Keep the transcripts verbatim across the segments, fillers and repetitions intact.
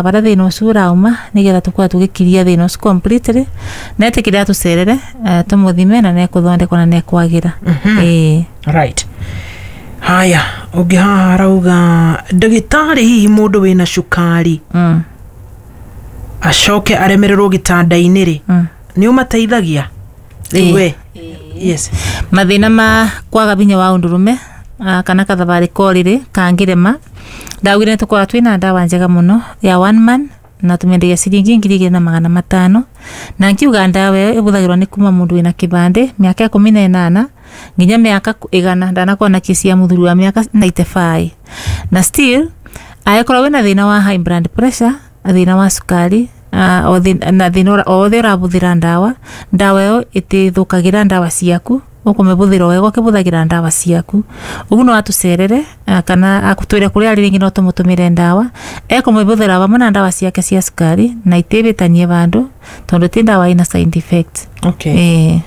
Baria thina ucio urauma nigetha tukorwo tugikiria thina ucio completely, na etikire atucerere, eh, tumuthime na nekuthondekwo na nekwagira. Ĩĩ. Right, haya, ũngĩ haha arauga, ndagĩtarĩ, hihi mũndũ wĩna cukari mm. acoke aremererwo gĩtanda-inĩ rĩ, Mm. nĩ ũmateithagia rĩu Ĩĩ. we? Yes. Mathina ma kwaga binya wa undurume, ah, kana kathabarĩ korĩrĩ kangĩrema, ndaugire nĩtũkoragwo twĩna ndawa njega mũno ya one man na tũmĩendagia ciringi ngiri igĩrĩ na magana matano. Na nkiuga ndawa ĩyo ĩbũthagĩrwo nĩ kuma mũndũ wĩna kĩbandĩ mĩaka ikũmi na ĩnana nginya mĩaka igana. Ndanakorwo na kesi ya mũthuri wa mĩaka mĩrongo kenda na ĩtano, na still angĩkorwo wĩna thĩna wa high blood pressure, thĩna wa cukari, ah, o thĩ- na thĩna ũra- o wothe ũrabũthĩra ndawa, ndawa ĩyo ĩtĩthũkagĩra ndawa ciaku, ũkũmĩbũthĩra o wega ũkĩbũthagĩra ndawa ciaku. Ũguo no atũcerere, ah, kana akũtwĩre kũrĩa arĩ, rĩngĩ no tũmũtũmĩre ndawa ekũmĩbũthĩra vamwe na ndawa ciake cia cukari na itĩbĩtanie vandũ, tondũ ti ndawa ĩna side effect. Okay. Ĩĩ.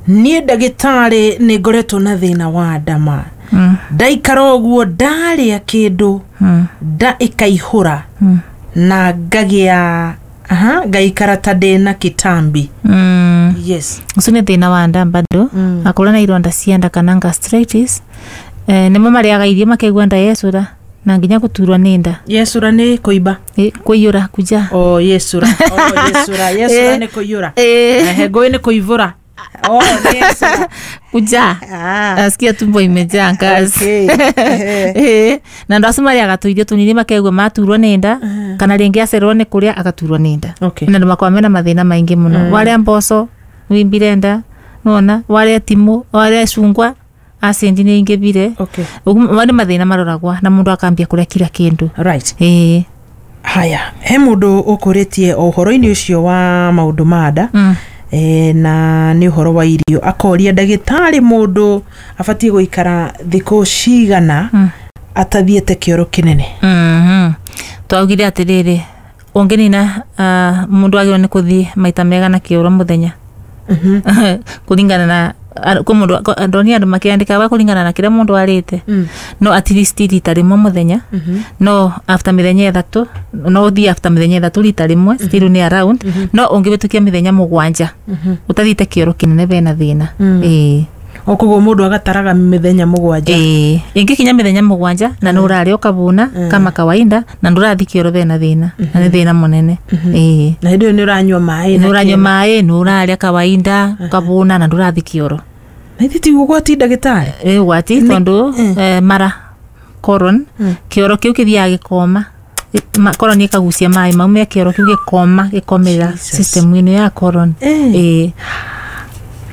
Niĩ ndagĩtarĩ nĩ ngoretwo na thĩna wa ndama. Mm, ndaikara ũguo, ndarĩa kĩndũ, mm, nda ĩkaihũra mm, na ngagĩa, aha, ngaikara ta ndĩna kĩtambi. mm. Yes. Ũcio nĩ thĩna wa nda bado. Mm. Akorwo na ironda cia nda kana gastritis, eh, nĩmo marĩaga irio makaigua nda yecũra na nginya gũturwo nĩ nda. Yecũra nĩ kũimba? Ĩ, kũiyũra, kuja. O yecũra, o yecũra, yecũra Eh. nĩ kũiyũra. Eh. Ehe, ngũĩ nĩ kũivũra. O nĩ yecũra. Kuja. Ah. Nasikia tumbo imejaa gas. Okay. Ehe. Eh, na andũ acio marĩaga tũirio tũnini makaigua maturwo nĩ nda, kana rĩngĩ acererwo nĩ kũrĩa agaturwo nĩ nda. Okay. Na andũ makoragwo mena mathĩna maingĩ mũno. Warĩa mboco wimbire nda, nona warĩa timũ, warĩa cungwa, acid nĩ ingĩbire. Okay. Ũguo nĩ mathĩna maroragwa na mũndũ akambia kũrĩa kila kĩndũ. Right. Ĩĩ. Haya, he mũndũ ũkũrĩtie o ũhoro-inĩ ũcio wa maũndũ ma nda, Mm. e, na nĩ ũhoro wa irio, akoria, ndagĩtarĩ, mũndũ abatiĩ gũikara thikũ cigana Mm. atathiĩte kĩoro kĩnene? Mhm. twaugire atĩrĩrĩ, ũngĩnina, ah, mũndũ agĩrĩirwo nĩ kũthiĩ maita mega na kĩoro mũthenya kũringana na a- kwĩ mũndũ ko- ndonire andũ makĩandĩka wa kũringana na kĩrĩa mũndũ arĩte, Mm. no at least rita rĩmwe mũthenya. No after mĩthenya ĩthatũ, no ũthiĩ after mĩthenya ĩthatũ rita rĩmwe, still nĩ around. No ũngĩhĩtũkia mĩthenya mũgwanja ũtathiĩte kĩoro kĩnene, bena thĩna. Ĩĩ. O koguo mũndũ agataraga mĩthenya mũgwanja? Ĩĩ, ĩngĩkinya mĩthenya mũgwanja na nĩ ũrarĩa ũkabuna kama kawaida na ndũrathiĩ kĩoro, bena thĩna, na nĩ thĩna mũnene. Ĩĩ. Na hĩndĩ ĩyo nĩ ũranyua maĩ na Nĩ ũranyua kĩno. maĩ, nĩ ũrarĩa kawaida, ũkabuna na ndũrathiĩ kĩoro. Na ithi ti ũgwati, ndagĩtarĩ? Ĩ, ũgwati, tondũ eh, mara colon, kĩoro kĩu kĩthiaga gĩkoma. Ma- colon ĩkagucia maĩ mau me kĩoro kĩu, gĩkoma, gĩkomerera Jesus. system ĩno ya colon. Eh. Ĩĩ.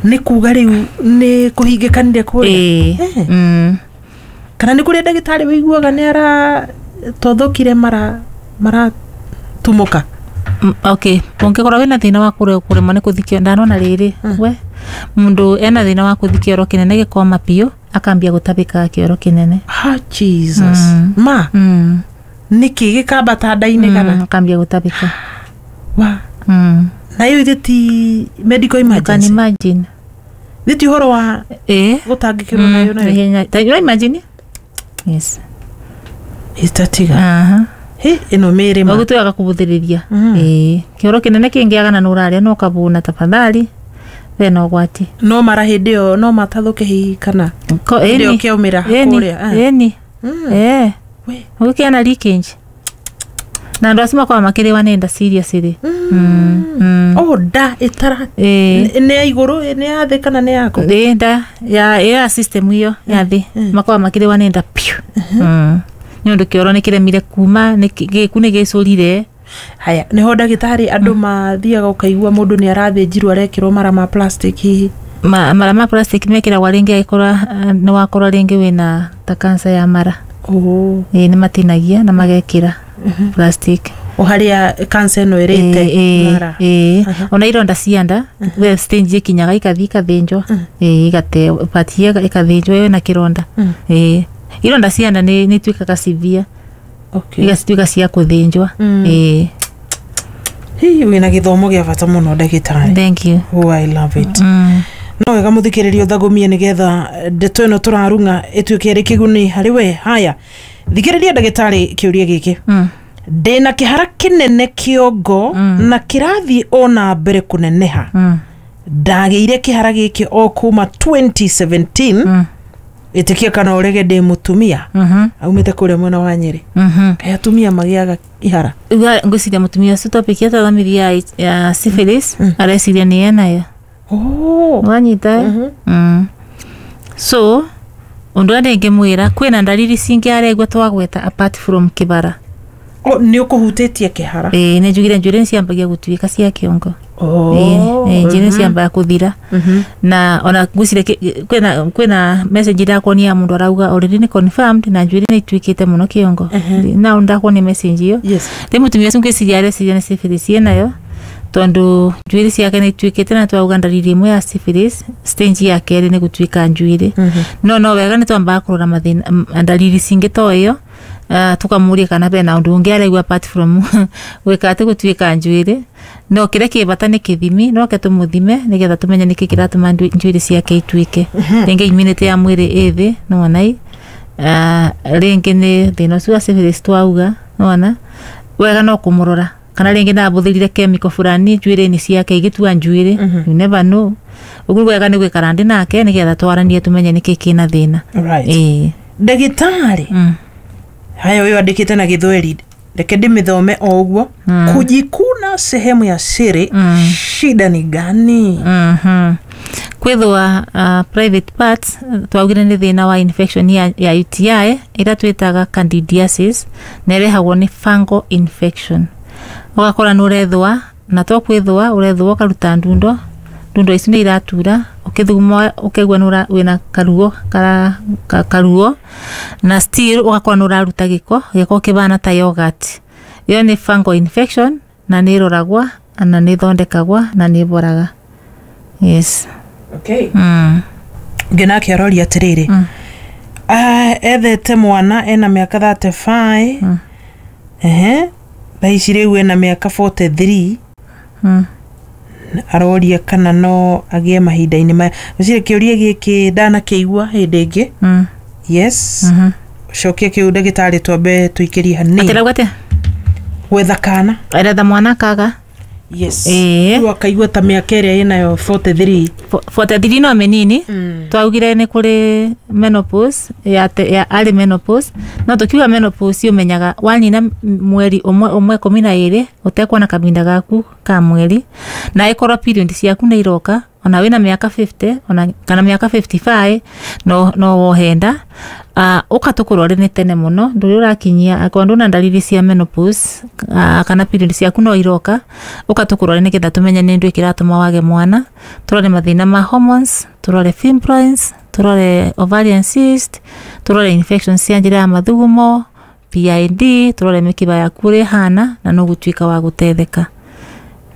Nĩ kuga rĩu nĩ kũhingĩkanire kũrĩa? Ĩĩ. Eh. Mm. Kana nĩ kũrĩa, ndagĩtarĩ, wĩiguaga nĩ aratothokire mara maratumũka? Mm, okay ũngĩkorwo wĩna thĩna wa kũre- kũremwo nĩ kũthikio, ndanona rĩrĩ we mũndũ ena thĩna wa kũthi kĩoro kĩnene gĩkoma biũ, akambia gũtabĩkaga kĩoro kĩnene. Ha, Jesus. Mm. Ma mm. nĩkĩ gĩkambata nda-inĩ kana? Mm, akambia gũtabĩka. Wa mm. na ĩyo ithe ti medical You can emergency? imagine. Ithe ti ũhoro wa ĩĩ. gũtangĩkĩrwo nayo nayo? Ihenya- ta- you imagine, yes. Ĩtatiga. Aha. Hĩ, ĩno mĩrĩ ma Ũguo twĩaga kũbũthĩrĩria. Mm. Ĩĩ, kĩoro kĩnene kĩngĩagana na ũrarĩa na ũkabuna, tafadhali, bena ũgwati. No mara hĩndĩ ĩyo no matathũke hihi kana Ko- hĩndĩ ĩyo ĩni. kĩaumĩra Ĩni, kũrĩa, eh. ĩni. Mm. Ĩĩ. We. Ũgĩkĩana leakage na andũ acio makoragwo makĩrĩwa nĩ nda seriously. Mm, mm. O nda ĩtara Ĩĩ. nĩ nĩ ya igũrũ, nĩ ya thĩ kana nĩ yaku? Ĩ, nda ya ĩ ya system iyo ya thĩ, makoragwo makĩrĩwa nĩ nda piũ. Mm. Nĩ ũndũ kĩoro nĩ kĩremire kuma, nĩ kĩ- gĩku nĩ gĩcũrire. Haya, nĩho ndagĩtarĩ andũ mathiaga ũkaigua mũndũ nĩ arathĩnjirwo, arekĩrwo mara ma plastic hihi? Ma, mara ma plastic mekĩragwo rĩngĩ agĩkorwo, ah, nĩ wakorwo rĩngĩ wĩna ta cancer ya mara. Oh. Ĩ, nĩ matinagia na magekĩra plastic. O harĩa cancer ĩno ĩrĩte Ĩ, mara? ĩ, ona ironda cia nda we stage ikinyaga ikathiĩ ikathĩnjwo. Ĩ, igate part ĩyo ĩkathĩnjwo ĩyo na kĩronda. Ĩ, ironda cia nda nĩ nĩ ituĩkaga severe, Okay. igatuĩka cia kũthĩnjwo. Mm. Ĩ. Hihi wĩna gĩthomo gĩa bata mũno, ndagĩtarĩ. Thank you. Oh, I love it. mm. No wega mũthikĩrĩria ũthagũmie nĩgetha ndeto ĩno tũrarung'a ĩtuĩke ĩrĩ kĩguni harĩ we. Haya, thikĩrĩria ndagĩtarĩ kĩũria gĩkĩ. Mm. Ndĩna kĩhara kĩnene kĩongo na kĩrathiĩ ona mbere kũneneha. Mm. Ndagĩire kĩhara gĩkĩ o kuma twenty seventeen. Mm. Ĩtĩkia kana ũrege ndĩ mũtumia. Mhm. Aumĩte kũrĩa mwena wa Nyĩrĩ. Mhm. Kaĩ atumia magĩaga ihara? Uga ngwĩciria mũtumia ũcio topic yatwathomirie ya, ya syphilis areciria nĩ enayo. Oh. Wanyita. Mm. So ũndũ ũrĩa ndĩngĩmwĩra kwĩna ndariri cingĩ aregua twagweta apart from kĩbara. Oh, nĩ ũkũhutĩtie kĩhara. Ĩĩ nĩ njugire njuĩrĩ nĩ ciambagia gũtuĩka cia kĩongo. Oh. Ĩĩ njuĩrĩ nĩ ciambaga kũthira. Mhm. Na ona ngwĩciria kĩ- kwĩna kwĩna message ndakuonia ya mũndũ arauga already nĩ confirmed na njuĩrĩ nĩ ituĩkĩte mũno kĩongo. Na ndakuonia message ĩyo. Yes. Rĩu mũtumia ũcio ngwĩciria areciria nĩ syphilis ĩnayo tondũ njuĩrĩ ciake nĩ ituĩkĩte na twauga ndariri ĩmwe ya syphilis stage ya kerĩ nĩ gũtuĩka njuĩrĩ. No no wega nĩ twambaga kũrora mathĩna m- ndariri cingĩ to ĩyo. Uh, tukamũria kana bena ũndũ ũngĩ araigua apart from gwĩka atĩ gũtuĩka njuĩrĩ. No kĩrĩa kĩ bata nĩ kĩthimi, no ke tũmũthime nĩgetha tũmenye nĩkĩ kĩratũma ndu- njuĩrĩ ciake ituĩke. Rĩngĩ immunity ya mwĩrĩ ĩ thĩ nĩwona ĩ uh, rĩngĩ nĩ thĩna ũcio wa syphilis twauga nĩwona wega no kũmũrora kana rĩngĩ nabũthĩrire chemical fulani njuĩrĩ-inĩ ciake igĩtua njuĩrĩ. You never know. Ũguo wega nĩ gwĩkara ndĩ nake nĩgetha twaranie tũmenye nĩkĩ kĩna thĩna. Right. Ĩĩ. Ndagĩtarĩ. Mm. Haya, ũyũ andĩkĩte na Gĩthweri, reke ndĩmĩthome o ũguo. Kujikuna sehemu ya siri, shida ni gani? Mhm. Kwithwa uh, private parts twaugire nĩ thĩna wa infection ya, ya U T I ĩrĩa twĩtaga candidiasis na ĩrehagwo nĩ fungal infection. Ũgakora nĩ ũrethũa na to kwithũa ũrethũa ũkaruta ndundo, ndundo ici nĩ iratura ũkĩthuguma ũkaigua nĩ ũra- wĩna karuo kara, ka, karuo na still ũgakora nĩ ũraruta gĩko, gĩko kĩbana ta yogurt. Ĩyo nĩ fungal infection na nĩ ĩroragwa na nĩ ĩthondekagwa na nĩ ĩboraga. Yes. Okay. Mm. Ũngĩ nake aroria atĩrĩrĩ. Mm. Ah, ethete mwana ena mĩaka thirty-five. Mm. Ehe. Thaa ici rĩu ena mĩaka forty-three. Mm. Aroria kana no agĩe mahinda-inĩ maya. Ngwĩciria kĩũria gĩkĩ ndanakĩigua hĩndĩ ĩngĩ. Mm. Yes. Mhm. Cokia kĩu ndagĩtarĩ twambe tũikĩrie hanini. Atĩrauga atĩa? Gwetha kana. Aretha mwana kaga. Yes. Ĩĩ. Rĩu akaigua ta mĩaka ĩrĩa ĩnayo forty-three. Fo- forty-three no mĩnini. Mm. Twaugire nĩ kũrĩ menopause ya, te, ya early menopause. No tũkiuga menopause ũmenyaga wanina mweri ũmwe ũmwe ikũmi na ĩrĩ ũtekuona kahinda gaku ka mweri na ĩkorwo period ciaku nĩ iroka ona wĩna mĩaka fifty ona kana mĩaka fifty-five no no wohe nda. Uh, ũka tũkũrore nĩ tene mũno ndũrĩ ũrakinyia akorwo ndũna ndariri cia menopause uh, kana period ciaku no iroka ũka tũkũrore nĩgetha tũmenye nĩ ndũ kĩratũma wage mwana, tũrore mathĩna ma hormones, tũrore fibroids, tũrore ovarian cyst, tũrore infections cia njĩra ya mathugumo, P I D, tũrore mĩkiba yaku ũrĩa ĩhana na no gũtuĩka wa gũtetheka.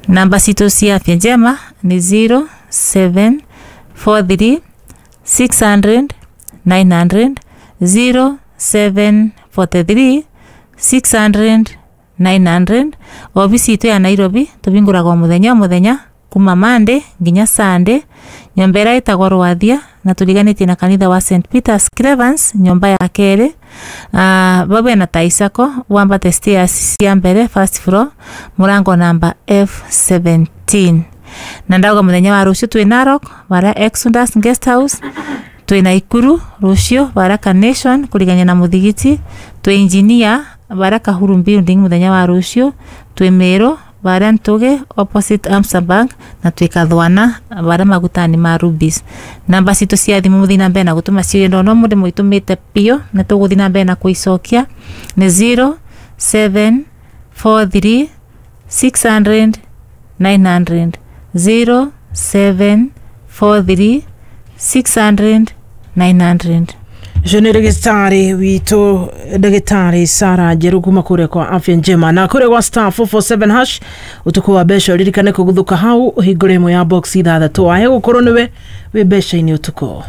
Namba citũ cia Afya Njema nĩ zero seven four three six hundred nine hundred, zero seven four three six hundred nine hundred. Obici itũ ya Nairobi tũhingũraga o mũthenya o mũthenya kuma Monday nginya Sunday. Nyũmba ĩrĩa ĩtagwo Rwathia na tũriganĩtie na kanitha wa Saint Peter's Clevens nyũmba ya kerĩ. Ah, babe na Taisako wambate stairs cia mbere first floor mũrango namba F seventeen. Na ndauga mũthenya wa rũciũ twĩ Narok bara Exodus Guest House, twĩ Naikuru rũciũ bara Carnation kũrigania na mũthigiti, twĩ Engineer bara Kahuru Building mũthenya wa rũciũ, twĩ Meru bara Ntuge opposite Amsa Bank na twĩ Kathwana bara magutani ma Rubis. Namba citũ cia thimũ mũthiĩ na mbere na gũtũma ciũria no mũndũ mũitũmĩte biũ na tũgũthiĩ na mbere na kũicokia nĩ zero seven four three six hundred nine hundred, zero seven four three six hundred nine hundred. Ũcio nĩ ndagĩtarĩ witũ ndagĩtarĩ Sarah Njeru kuma kũrĩa kwa Afya Njema na kũrĩa gwa star four four seven hash ũtukũ wa mbeca ũririkane kũguthũka hau ũhingũre ĩmwe ya box ithathatũ wahe gũkorwo nĩwe wĩ mbeca-inĩ ũtukũ.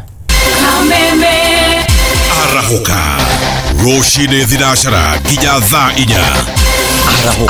Arahũka rũcinĩ thinacara nginya thaa inya.